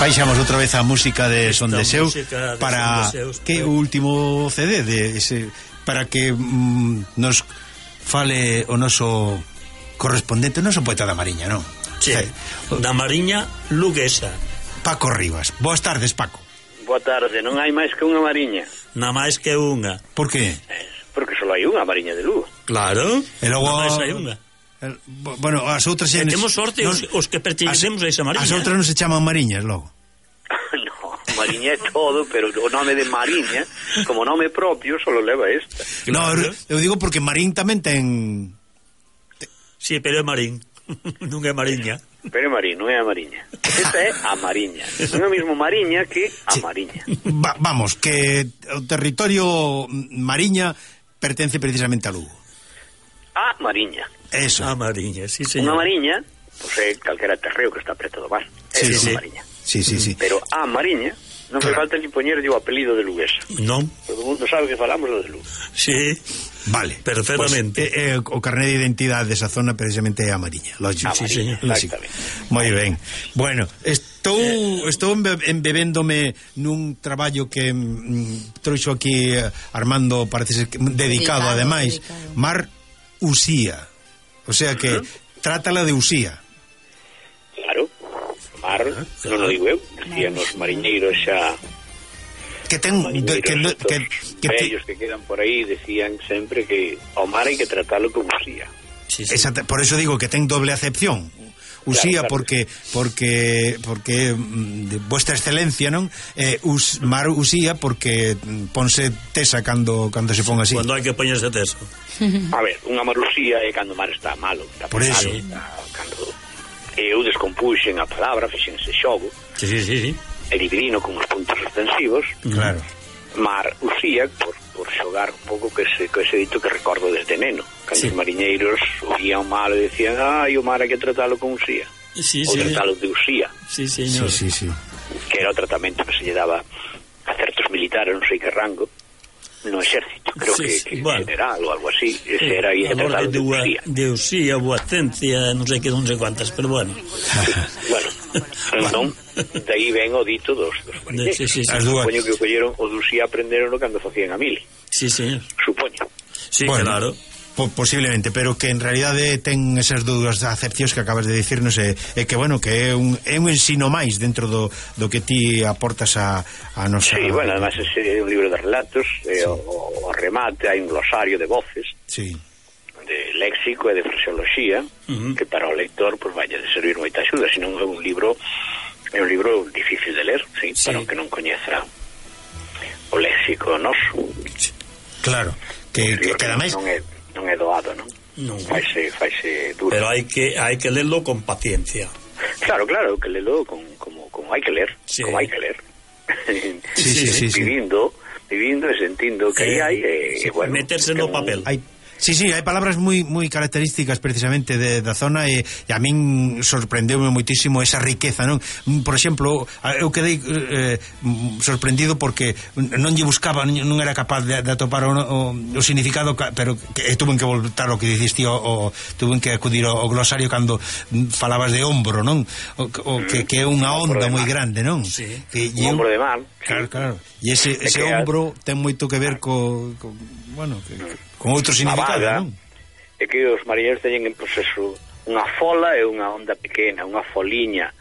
baixamos outra vez a música de Son Deseu para que o último CD de ese, para que nos fale o noso correspondente, o noso poeta da Mariña, non? Sí, da Mariña luguesa, Paco Rivas. Boas tardes, Paco. Boa tarde, non hai máis que unha Mariña. Na máis que unha. Por que? Porque só hai unha Mariña de Lugo. Claro, e logo máis hai unha. Bueno, as outras e temos sorte os que pertencemos a esa Mariña. As outras non se chaman Mariñas logo. No, Mariña é todo, pero o nome de Mariña, como nome propio, só leva esta. Claro. No, eu digo porque Marín tamén ten... Sí, pero é Marín. Non é Mariña. Pero é Marín, non é a Mariña. Esta é a Mariña. Non é o mismo Mariña que a Mariña. Vamos, que o territorio Mariña pertence precisamente a Lugo. A Mariña. Eso. A Mariña, sí, señor. Unha Mariña, pois é calquera terreo que está preto do mar. Sí, é sí. Mariña. Sí. Pero a Mariña non fai falta ni poñerlle o apelido de luguesa. Non. Todo o mundo sabe que falamos do de Lugo. Sí. Vale, perfectamente. Pues, o carné de identidade desa zona precisamente é a Mariña, lógico. Sí, señor. Moi ben. Bueno, estou embebéndome nun traballo que trouxo aquí Armando, parece ser dedicado ademais, Mar Usía. O sea que trátala de Usía. Claro. Mar, non o digo eu, decían os mariñeiros xa. Que ten ellos que quedan por aí decían sempre que ao mar hai que tratalo como Usía. Sí. Por eso digo que ten doble acepción. Usía, claro. porque vuestra excelencia, non? Mar Usía porque ponse tesa cando se pon así. Cando hai que poñerse tesa. A ver, unha Mar Usía é cando o mar está malo, está por eso. Cando eu descompuxen a palabra, fixense xogo. Sí. E dividino con os puntos suspensivos. Claro. Mar Usía por xogar un pouco que ese dito que recordo desde neno, cando os mariñeiros oían o mar e decían, o mar hai que tratalo con Usía, ou tratalo de Usía. Sí, señor. Sí. Que era o tratamento que se lle daba a certos militares, non sei que rango, no exército, creo que general ou algo así. Ese era aí que tratalo de Usía. De Usía, Boacencia, non sei cuantas, pero bueno. Bueno, entón, de aí ven o dito dos mariñeiros. Sí. Supoño que o colleron o de Usía aprenderon cando facían a mili. Sí, señor. Supoño. Sí, bueno, claro. Posiblemente, pero que en realidade ten esas dúas acepcións que acabas de dicirnos e que, bueno, que é un ensino máis dentro do que ti aportas a nosa... Sí, bueno, además é un libro de relatos, o remate hai un glosario de voces, de léxico e de fraseoloxía, que para o lector pues vaya de servir moita axuda, senón é un libro difícil de ler, para o que non coñeza o léxico noso. Claro, que ademais non é doado, non? Faise duro. Pero hai que lerlo con paciencia. Claro, que lerlo como hai que ler, como hai que ler. Sí. Vivindo e sentindo que hai bueno, meterse no papel. Sí, hai palabras moi características precisamente da zona e a min sorprendeume moitísimo esa riqueza, non? Por exemplo, eu quedei sorprendido porque non lle buscaba, non era capaz de atopar o significado, pero tuven que voltar o que diciste, tuven que acudir ao glosario cando falabas de ombro, non? Que é unha onda moi grande, non? Sí. Un ombro de mar. Claro. E ese ombro ten moito que ver con outro significado, non? É que os mariñeiros teñen en proceso unha fola e unha onda pequena, unha foliña.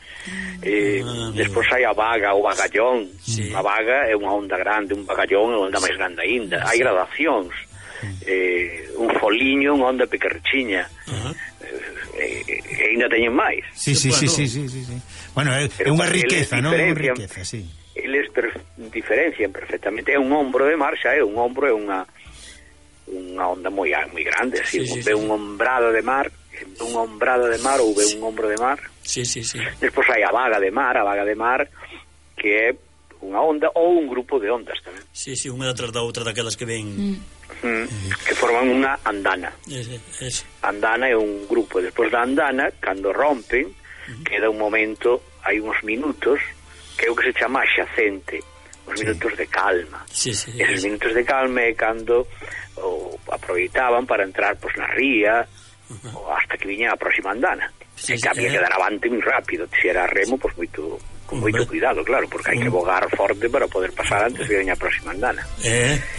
Despois hai a vaga ou bagallón. A vaga é unha onda grande, un bagallón é unha onda máis grande aínda. Hai gradacións. Un foliño, unha onda pequerchiña. E aínda teñen máis. Sí. Bueno, é unha riqueza, non? Unha riqueza, sí. Eles diferencian perfectamente. É un ombro de mar, xa é un ombro, é unha onda moi grande, así, ve unha ombrada de mar ou ve un ombro de mar. Sí. Despois hai a vaga de mar que é unha onda ou un grupo de ondas tamén. Sí, unha detrás da outra daquelas que ven que forman unha andana. Andana é un grupo, despois da andana, cando rompen, queda un momento, hai uns minutos que é o que se chama xacente, os minutos de calma. Esos minutos de calma é cando aproveitaban para entrar na ría hasta que viña a próxima andana. Que había que dar avante moi rápido, se era remo, moito con moito cuidado, claro, porque hai que bogar forte para poder pasar antes de a próxima andana.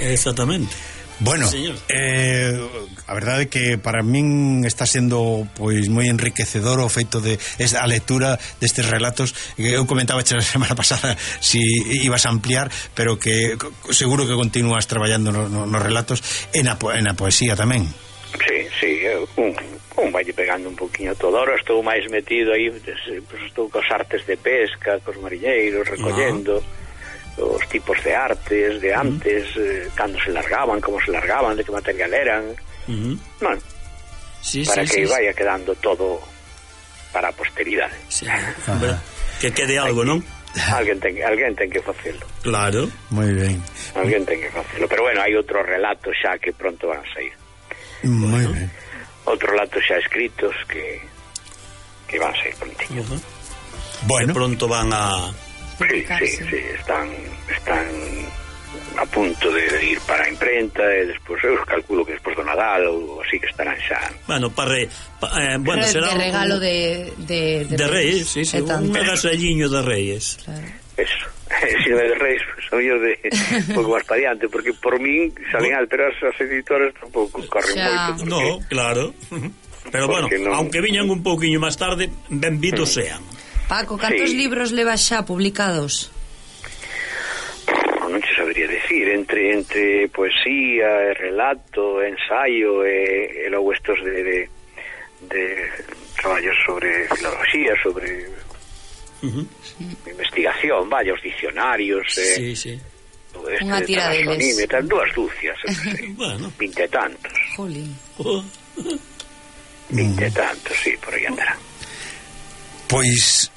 Exactamente. Bueno, a verdade é que para min está sendo pois moi enriquecedor o feito de a lectura destes relatos. Eu comentaba a semana pasada si ibas a ampliar, pero que seguro que continúas traballando nos relatos e na poesía tamén. Sí, un vai pegando un poquinho todo. Ahora estou máis metido aí, pues estou cos artes de pesca, cos mariñeiros, recollendo os tipos de artes de antes, cando se largaban, como se largaban, de que material eran. Bueno, para que vaya quedando todo para a posteridade. Que quede algo, non? Alguén ten que facelo. Claro. Moi ben. Alguén ten que facelo. Pero bueno, hai outros relatos xa que pronto van a sair. Moi ben. Outros relatos xa escritos que van a sair prontinho. Bueno, que pronto van a... Sí, están a punto de ir para a imprenta e despois eu calculo que despois do Nadal ou así que estarán xa. Bueno, bueno, será de regalo de Reyes, sí, un agasalliño de Reyes. Claro. Eso. Si non é de Reis, pues, a mellor de un pouco máis para diante, porque por min salen alteras as editoras tampouco corren moito. No, claro. Pero bueno, aunque viñan un pouquiño máis tarde, benvidos sean. Paco, cantos libros levas xa publicados? Non te sabría decir, entre poesía, relato, ensayo e logo estos de traballos sobre filoloxía, sobre investigación, vaya, os dicionarios, unha tira deles, dúas dúcias, bueno, 20 e tantos. Jolín. 20 e tantos, sí, por aí andarán. Pois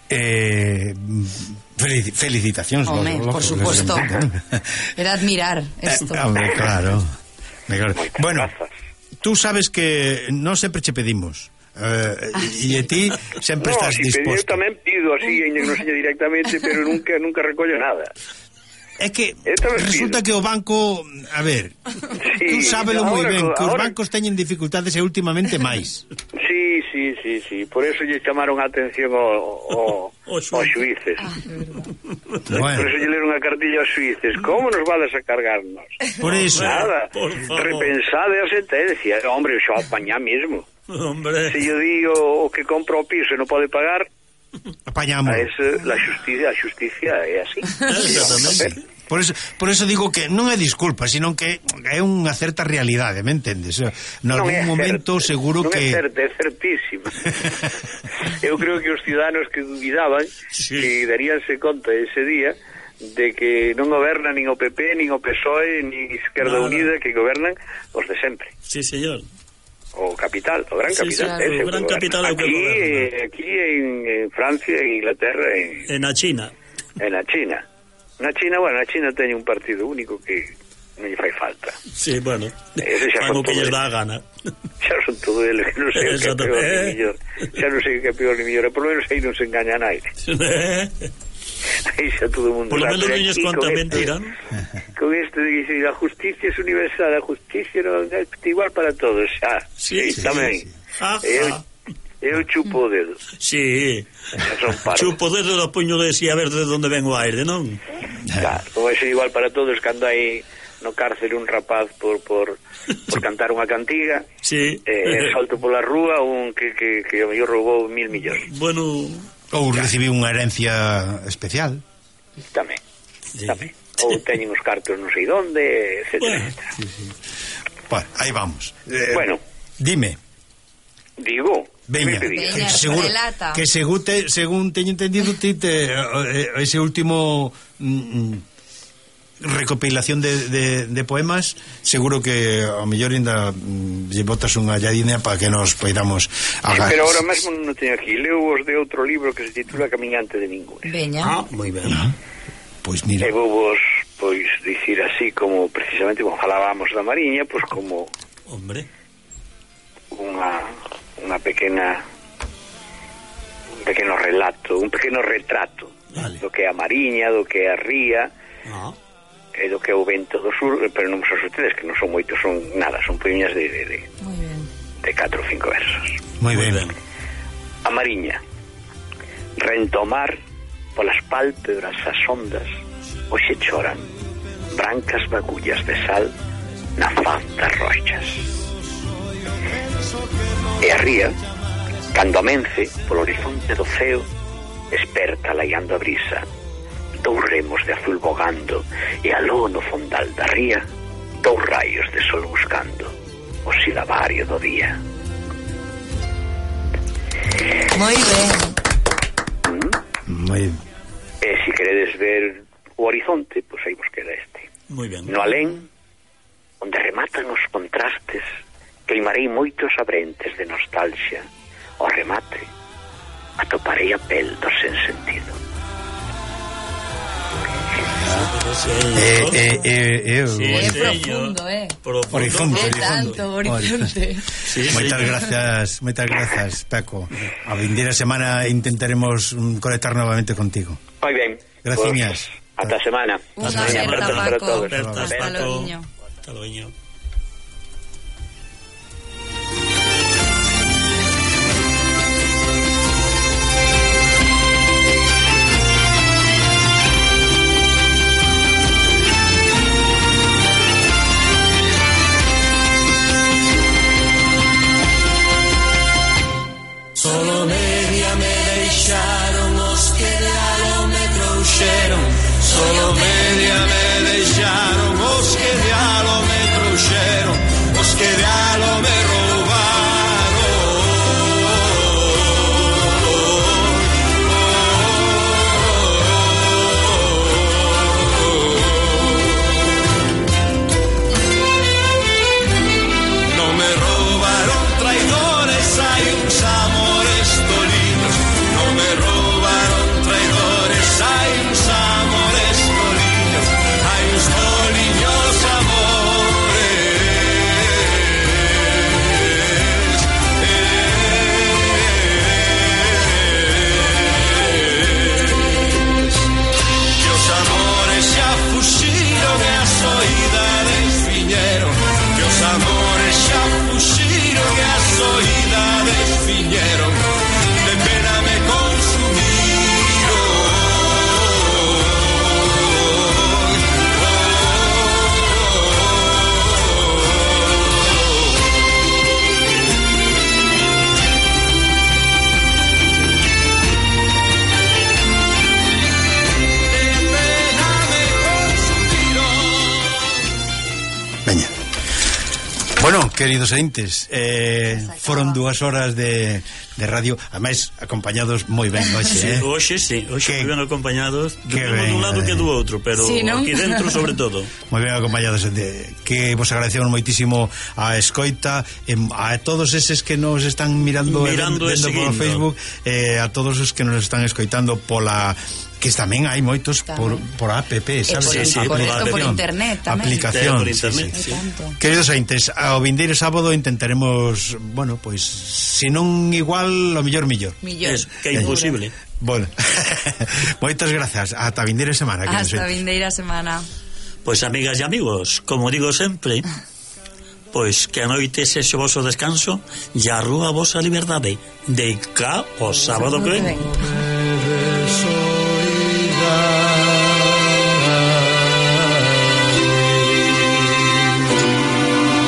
felicitacións, por suposto. Era admirar isto. Claro. Bueno, grazas. tú sabes que non sempre che pedimos. E ti sempre estás disposto. Eu tamén pido así, non sei directamente, pero nunca recollo nada. É que resulta que o banco, a ver, tú sábelo moi ben, que os bancos teñen dificultades e últimamente máis. Sí, por eso lle chamaron a atención aos xuíces. Por eso lle leron a cartilla aos xuíces. Como nos vades a cargarnos? Por eso. Nada, repensade a sentencia. Hombre, xo apañá mesmo. Se yo digo o que compra o piso e non pode pagar, apañamos. La justicia é así. Exactamente. Por eso digo que non é disculpa, sino que é unha certa realidade, me entendes? Nalgún momento seguro que... Non é certísimo. Eu creo que os ciudadanos que dubidaban que daríanse conta ese día de que non goberna nin o PP, nin o PSOE, nin Izquierda Unida, que gobernan os de sempre. Sí, señor. O capital, o gran capital. O gran capital é o que goberna. Aquí en Francia, en Inglaterra, en a China. Na China, bueno, a China teñe un partido único que non lle fai falta. Sí, bueno, fan o que lles dá a gana. Xa son todo eles, que non sei o que é peor ni millor. Xa non sei o que é peor ni millor, por lo menos aí non se engaña a naide. Aí xa todo o mundo por lo menos non lles conta mentira, ¿no? Con este de que a justicia é universal, a justicia non é igual para todos, xa. Sí, tamén. Eu chupo o dedo. Sí. Chupo o dedo do puño de si a ver de onde ven o aire, non? Claro, como é igual para todos cando hai no cárcere un rapaz por cantar unha cantiga, salto pola rúa un que o mellor roubou 1.000 millóns. Bueno, ou recibiu unha herencia especial. Tamén. Ou teñen os cartos non sei donde, etcétera. Bueno, aí vamos. Bueno, dime. Digo, veña, seguro que según teño entendido ese último recopilación de poemas, seguro que ao mellor ainda lle botas unha lladina para que nos poidamos agarrar. Pero ahora mesmo non teño aquí, leo os de outro libro que se titula Camiñante de Ninguna. Veña. Moi ben. Pois mira, e vou dicir así como precisamente como falábamos da Mariña, pois como un pequeno relato, un pequeno retrato do que é a Mariña, do que é a ría e do que é o vento do sur, pero non son ustedes que non son moitos, son poemas de 4 ou 5 versos. moi ben. A Mariña. Rentomar polas pálpebras as ondas hoxe choran brancas bagullas de sal na faz das rochas. E a ría, cando amence polo horizonte do ceo, esperta laiando a brisa, dous remos de azul bogando, e aló no fondal da ría, dous raios de sol buscando o silabario do día. Moi ben. Moi ben. E se queredes ver o horizonte, pois aí vos queda este. Moi ben. No alén, onde rematan os contrastes, queimarei moitos abrentes de nostalgia. Ao remate, atoparei a pel do sen sentido. É profundo, Horizonte. Tanto horizonte. Moitas grazas, Peco. A vindeira semana intentaremos conectar novamente contigo. Moi ben. Graciñas. Ata a semana. Unha aperta, Paco. Hasta logo. Hasta logo. Solo media me deixaron os que de alo me trouxeron. Solo media me deixaron os que de alo me trouxeron. Os que de alo me Bueno, queridos ointes, foron 2 horas de radio, ademais acompañados moi ben hoxe, Hoxe moi ben acompañados, dun lado que do outro, pero sí, aquí dentro sobre todo. Moi ben acompañados, que vos agradecemos moitísimo a escoita, a todos eses que nos están mirando vendo por Facebook, a todos os que nos están escoitando pola que tamén hai moitos por app, sabes? Por internet tamén. Aplicación. Por internet, sí. Queridos ointes, ao vindeiro sábado intentaremos, bueno, pois, se non igual, o mellor. Es que é imposible. Bueno, moitas grazas. Ata a vindeira semana. Hasta a vindeira semana. Pois, amigas e amigos, como digo sempre, pois que a noite sexe o voso descanso e a rúa a vosa liberdade. De cá o sábado que ven.